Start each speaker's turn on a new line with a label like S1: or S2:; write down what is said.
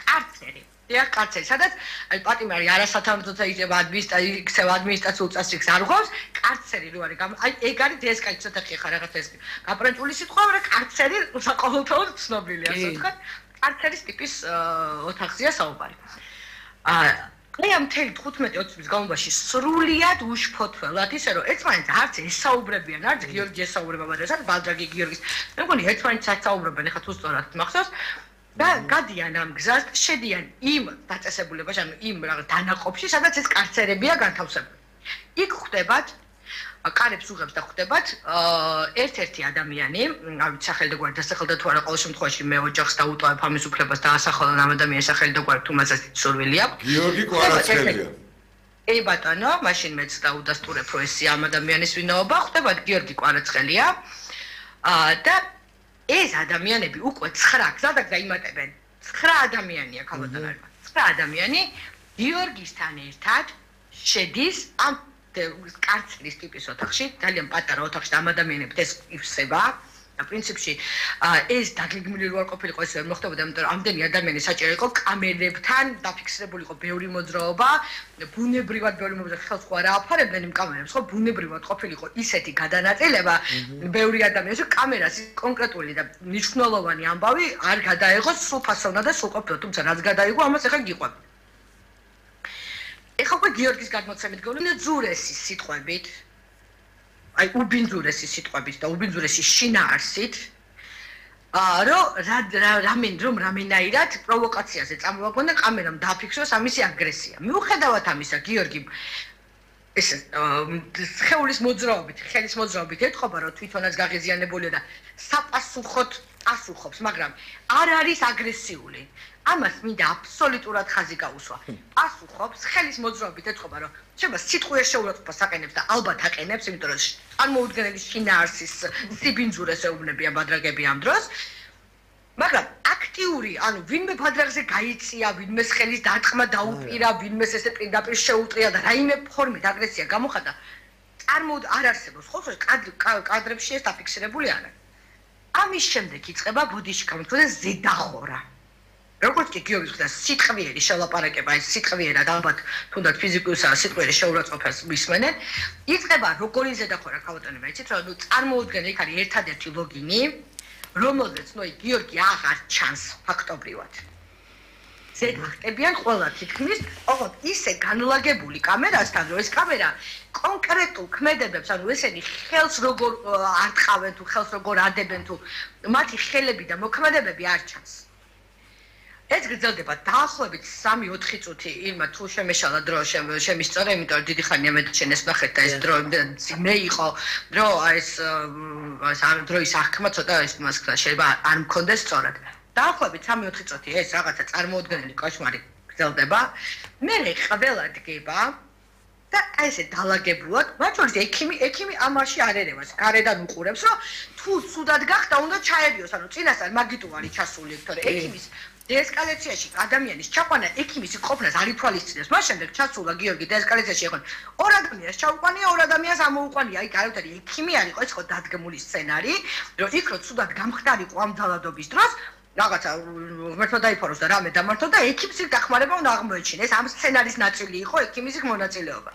S1: კარცერი. დიახ, კარცერი, სადაც აი პატიმარი არასათანადო იქნება ადმინისტრაციულ წესრიგს არ უღავს, კარცერი რო არის, აი ეგ არის დსკ-ი ცოტა ხარ რაღაცა ეს გაპრანჭული სიტყვა, მაგრამ კარცერი საყოველთაოდ ცნობილია, ასე ვთქვათ. კარცერის ტიპის ოთახზეა საუბარი. აი ამ 15-20 წლის განმავლობაში სრულიად უშფოთველად ისე რომ ერთმანეთს არც ესაუბრებიან, არც გიორგი ესაუბრება, მაგრამ ბალდრაგი გიორგის. მე მგონი ერთმანეთს ასაუბრებენ, ეხლა თუ სწორად მახსოვს. და გადიან ამ გზას, შედიან იმ დაწესებულებაში, ანუ იმ რაღაც დანაყოფში, სადაც ეს კარცერებია განთავსებული. იქ ხვდებათ, კარებს უღებს და ხვდებათ ერთ-ერთი ადამიანი, ავით სახელი და გვარი დასახელდა თუ არა, ყოველ შემთხვევაში მე ოჯახს დაუტოვებ ამის უფლებას და ასახელონ ამ ადამიანის სახელი და გვარი თუ მასაც სურვილი აქვს.
S2: გიორგი კვარაცხელია.
S1: ე ბატონო, მაშინ მეც დაუდასტურებ, რომ ეს ამ ადამიანის ვინაობა, ხვდებათ გიორგი კვარაცხელია. და ეს ადამიანები უკვე 9 გზადაგ დაიმატებენ. 9 ადამიანია ქალბატონო. 9 ადამიანი გიორგისთან ერთად შედის ამ კარცერის ტიპის ოთახში, ძალიან პატარა ოთახში და ამ ადამიანებს ეს ივსება. და პრინციპში ეს დაგეგმილი რო არ ყოფილიყო ეს ვერ მოხდებოდა, იმიტომ რომ ამდენი ადამიანი საჭირო იყო კამერებთან დაფიქსირებული იყო ბევრი მოძრაობა, ბუნებრივად ბევრი მოძრაობა ხელს ხო არ აფარებდნენ იმ კამერებს, ხო ბუნებრივად ყოფილიყო ისეთი გადანაწილება, ბევრი ადამიანის კამერას კონკრეტული და მნიშვნელოვანი ამბავი არ გადაიღოს სულ ფასოვნა და სულ ყოფილა, თუმცა რაც გადაიღო, ამას ახლა გიყვები. ეხლა უკვე გიორგის გადმოცემით გონია ძურესი სიტყვებით აი უბინძურესი სიტყვებით და უბინძურესი შინაარსით რომ რამენაირად პროვოკაციაზე წამოვაგონ და კამერამ დააფიქსოს ამისი აგრესია. მიუხედავად ამისა, გიორგი ეს ხეულის მოძრაობით, ხელის მოძრაობით ეთყობა, რომ თვითონაც გაღიზიანებულია და საპასუხოდ პასუხობს, მაგრამ არ არის აგრესიული. ამას მინდა აბსოლუტურად ხაზი გაუსვა. პასუხობს, ხელის მოძრაობით ეთყობა, რომ შეიძლება სიტყვის შეურაცხყოფას აყენებს და ალბათ აყენებს, იმიტომ რომ წარმოუდგენელი შინაარსის სიბინძურეს ეუბნებიან ბადრაგები ამ დროს. მაგრამ აქტიური, ანუ ვინმე ბადრაგზე გაიწია, ვინმე ხელის დარტყმა დაუპირა, ვინმე ესე პირდაპირ შეუტრია და რაიმე ფორმით აგრესია გამოხატა, არ არსებობს. ხო, კადრებში ეს დაფიქსირებული არა. ამის შემდეგ იწყება ბოდიში გამოთქვა და ზედახორა. როგორც კი გიორგის ხდა სიტყვიერი შელაპარაკება, ეს სიტყვიერად ალბათ თუნდაც ფიზიკურსა სიტყვიერი შეურაცხყოფას მისმენენ, იწყება როგორი ზედახორა ქალბატონებია, იცით რომ წარმოუდგენელი იქ არის ერთადერთი ლოგინი, რომელზეც გიორგი აღარ ჩანს ფაქტობრივად. ზედახტებიან ყველა თითქმის, ოღონდ ისე განლაგებული კამერასთან, რომ ეს კამერა კონკრეტულ ქმედებებს, ანუ ესენი ხელს როგორ არტყავენ თუ ხელს როგორ ადებენ თუ მათი ხელები და მოქმედებები არ ჩანს. ეს გრძელდება დაახლოებით 3-4 წუთი, ირმა თუ შემეშალა დრო შემისწორე, იმიტომ რომ დიდი ხანია მე შენ ეს ნახეთ და ეს დრო მე იყო, დრო ეს დროის აღქმა ცოტა ეს მას შეიძლება არ მქონდეს სწორად. დაახლოებით 3-4 წუთი ეს რაღაცა წარმოუდგენელი კოშმარი გრძელდება. მე ყველა დგება და აი ესე დალაგებულად, მათ შორის ექიმი ამაში არ ერევას, გარედან უყურებს, რომ თუ ცუდად გახდა, უნდა ჩაერიოს, ანუ წინასწარ მაგიტუარი ჩასული, თორე ექიმის დესკალაციაში ადამიანის ჩაყვანა ექიმის ყოფნას არ ითვალისწინებს. მას შემდეგ ჩასულა გიორგი დესკალაციაში იყო. ორ ადამიანს ჩაუყვანია, ორ ადამიანს ამოუყვანია. აი გარეთ ექიმი არ იყო, ეს იყო დადგმული სცენარი, რომ იქ რო ცუდად გამხდარიყო ამ ძალადობის დროს, რაღაცა ღმერთმა დაიფაროს და რამე დამართო და ექიმს იქ დახმარება უნდა აღმოეჩინეს. ამ სცენარის ნაწილი იყო ექიმის იქ მონაწილეობა.